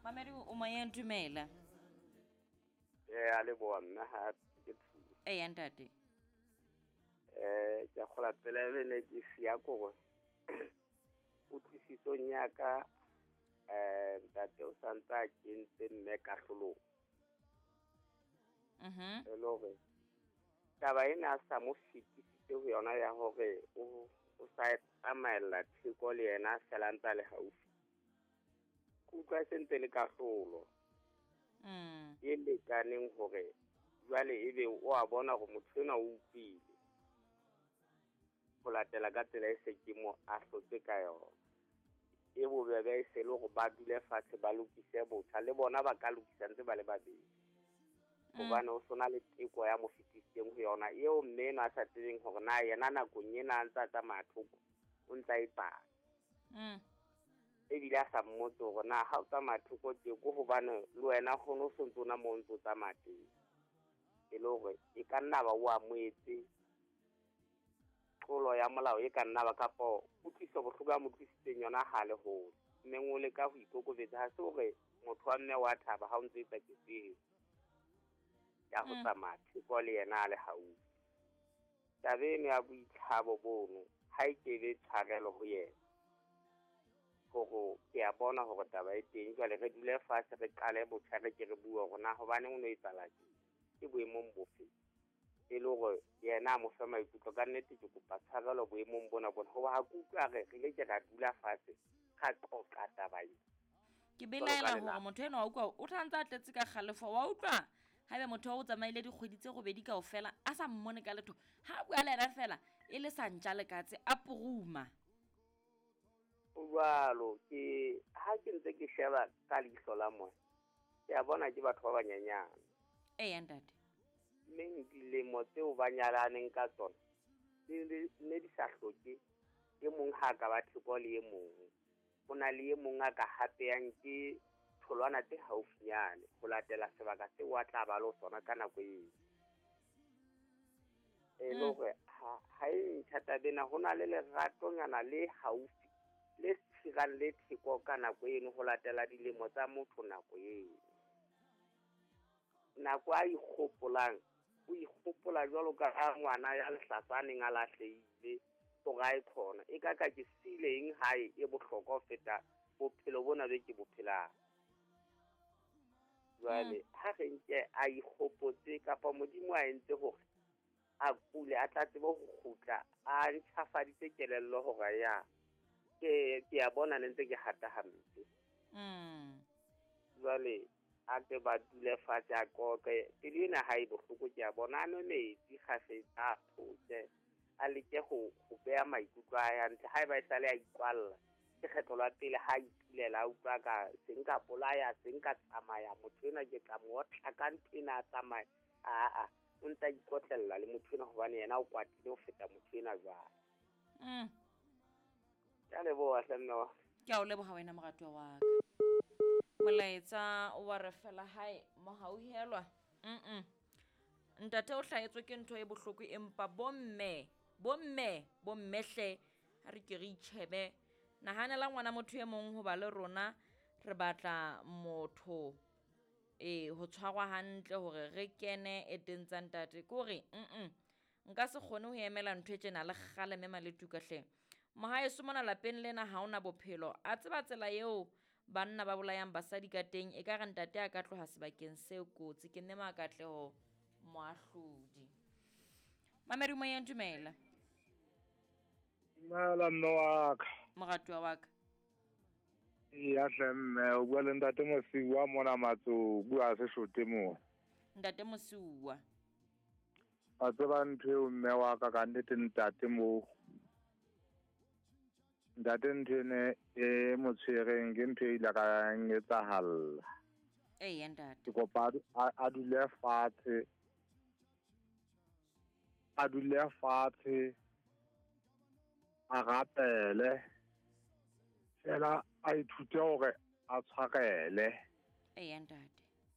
Mamedi o moyeng, dumela. Ee, a leboa mme ga ke thuso. Eya ntate. Ke a kgola pele e ne ke sia kore kutlwisisong ya ka ntate o santse a kentse mme kahlolong. E le hore taba ena a sa mo fetisitse ho yona ya hore o sa tsamaella theko le yena fela ntse a le haufi. Ke utlwa e sentse le kahlolo. E lekaneng hore jwale ebe o a bona hore motho enwa o utlwile ho latela ka tsela e se ke mo ahlotse ka yona. E bobebe e se le hore ba dule fatshe ba lokise botjha, le bona ba ka lokisa ntse ba le babedi. Hobane ho sona le teko ya mo fetisitseng ho yona eo mme enwa a sa tsebeng hore na yena nakong ena a ntse a tsamaya thoko o ntse a etsang. Ebile a sa mmotse hore na ha o tsamaya thoko tje ko hobane le wena kgone o sontso ona moo o ntso tsamaya teng. E le hore e ka nna ba o amohetse tlolo ya molao e ka nna ba kapo kutlwiso bohloko ya mo tlisitseng yona ha le hole. Mme o leka ho ikokobetsa, ha se hore motho wa mme wa thaba ha o ntse etsa ketso eo ya ho tsamaya theko le yena a le haufi. Taba eno ya boitlhabo bono ha e kebe tshwarelo ho yena. Hore ke a bona hore taba e teng, jwale re dule fatshe re qale botjha re ke re bue hore na hobaneng o no etsahala tje, ke boemong bofe. E le hore yena a mo fe maikutlo ka nnete ke kopa tshwarelo boemong bona bona. Hoba ha ke utlwa re ile ke ra dula fatshe ra qoqa taba ena. Ke belaela hore motho enwa wa utlwa o tla ntse a tletse ka kgalefo, wa utlwa haebe motho o tsamaile dikgwedi tse robedi kaofela a sa mmone ka letho, ha bua le yena fela e le sa ntja le katse a puruma. O jwalo ke ha ke ntse ke sheba ka leihlo la moya, ke a bona ke batho ba banyenyane. Eya ntate. Mme dilemo tseo ba nyalaneng ka tsona ne di sa hloke e mong ha ka ba theko le e mong. Ho na le e mong a ka hapeyang ke tholwana tse haufinyane ho latela sebaka seo a tla ba le sona ka nako eo. E le hore ha e ntjha taba ena, ho na le leratonyana le haufi le tshirang le theko ka nako eno ho latela dilemo tsa motho nako eo. Nako a ikgopolang, o ikgopola jwalo ka ha ngwana ya lehlatsa a neng a lahlehile hore a e khona. E ka ka ke siile eng hae e bohlokwa ho feta bophelo bona be ke bo phelang. Jwale ha re nke a ikgopotse kapa Modimo a entse hore a kule a tla tsebe ho kgutla a ntjhafaditse kelello hore ya ke a bona ne ntse ke hata hampe. Jwale a ke ba dule fatshe a qoqe, pelo ena ha e bohloko ke a bona, a nwe metsi kgafetsa a photse, a leke ho beha maikutlo a hae hantle. Haeba e sale a ikwalla ke kgetlo la pele ha ipulela a utlwa ka se nka bolaya se nka tsamaya motho enwa ke tla mo otla ka ntho ena a tsamaya. Aa, o ntse a ikotlella le motho enwa hobane yena o kwatile ho feta motho enwa jwale. Ke a leboha hle mme wa. Ke a o leboha wena moratuwa wa ka. Molaetsa wa re fela hae mohauhelwa. Ntate o hlahetswe ke ntho e bohloko empa bomme hle ha re ke re itjhebe. Nahanela ngwana motho e mong hoba le rona re batla motho ho tshwarwa hantle hore re kene e teng tsa ntate. Ke hore nka se kgone ho emela ntho e tjena le kgale mme Maletuka hle. Mohaeso mona lapeng lena ha ona bophelo. A tseba tsela eo banna ba bolayang basadi ka teng, e ka re ntate a ka tloha sebakeng se kotsi. Ke nne Makatleho Moahlodi. Mamedi moyeng, dumela. Dumela mme wa ka. Moratuwa wa ka. Eya hle mme, o bua le ntate Mosiuwa mona Matso, bua se shote mo. Ntate Mosiuwa. Wa tseba ntho eo mme wa ka ka nnete ntate mo. Ntate ntho ene e mo tshwereng ke ntho e ile ka etsahalla. Eya ntate. Ke kopa a dule fatshe. A dule fatshe. A rapele. Fela a ithute hore a tshwarele. Eya ntate.